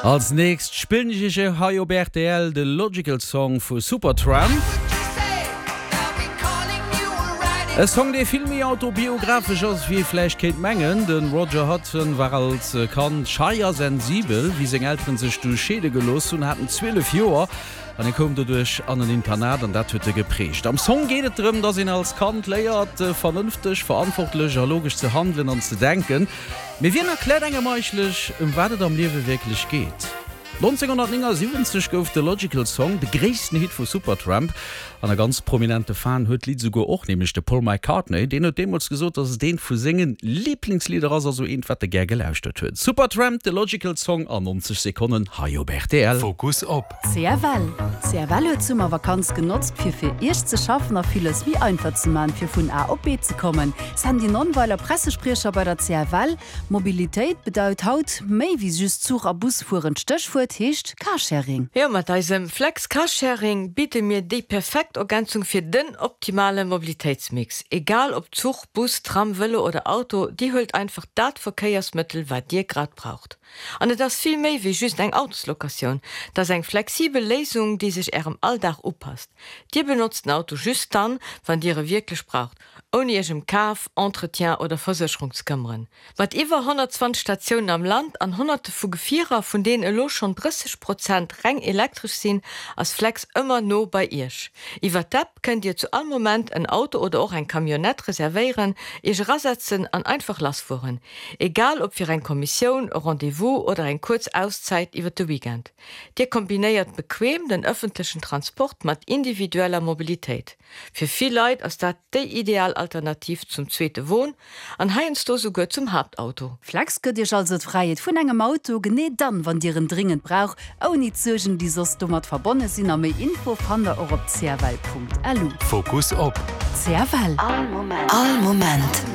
Als nächst spillen ech iech hei op rtl de Logical Song vu Supertramp. E Song dee vill méi autobiographesch ass wéi ee vläicht kéint mengen. De Roger Hodgson war als Kand schei a sensibel. Wéi seng Elteren sech du scheede gelooss hunn, hat en 12 Joer an e koum doduerch an en Internat an dat huet e geprägt. Am Song geet et drëm, dass een als Kand léiert vernënfteg, verantwortlech a logesch ze handelen an ze denken. Mee wien erkläert engem eigentlech, ëm wat et am Liewe wierklech geet? 1979 gouf de Logical Song de gréissten Hit vu Supertramp an e ganz prominente Fan huet d'Lidd esouguer och, nämlech de Paul McCartney. Deen huet deemools gesot, dass et eent vu senge Liblingslidder ass, also eent, wat e gär gelauschtert huet. Supertramp, The Logical Song an 90 Sekonnen hei op rtl. Fokus op. CFL. CFL huet d'Summervakanz genotzt fir fir Iech ze schaffen a villes méi einfach ze man fir vun A op B ze kommen. Sandy Nonnweiler, Pressespriecher bei der CFL, Mobilitéit bedeut haut méi wéi just Zuch a Bus fueren. D'Stéchwuert heescht Carsharing. Jo, mat eisem Flex Carsharing bidde mir déi perfekt Ergänzung fir den optimale Mobilitéitsmix. Egal ob Zuch, Bus, Tram, Vëlo oder Auto, dir huelt einfach dat Verkéiersmëttel wat dir grad braucht. An et ass vill méi wéi just eng Autoslocatioun, et ass eng flexibel Léisung, déi sech Ärem Alldag upasst. Dir benotzt den Auto just dann, wann Dir e wierklech braucht, ouni Iech ëm Kaf, Entretien oder Versécherung ze këmmeren. Mat iwwer 120 Statiounen am Land an Honnerte vu Gefierer, vun deenen elo schonn 30 Prozent reng elektresch sinn, ass Flex ëmmer no bei Iech. Iwwer d'App kënnt Dir zu all Moment en Auto oder och eng Camionnette reservéieren, Iech erasetzen an einfach lassfueren. Egal ob fir eng Kommissioun, e Rendez-vous oder eng kuerz Auszäit iwwer de Weekend. Dir kombinéiert bequem den ëffentlechen Transport mat individueller Mobilitéit. Fir vill Leit ass dat déi ideal Alternativ zum zweete Won an heiansdo souguer zum Haaptauto. Flex gëtt Iech also d'Fräiheet vun engem Auto, genee dann, wann Dir en dringend braucht, ouni d'Suergen, déi soss domat verbonne sinn. A méi Info fannt der och op cfl.lu. Fokus op. CFL. All Moment.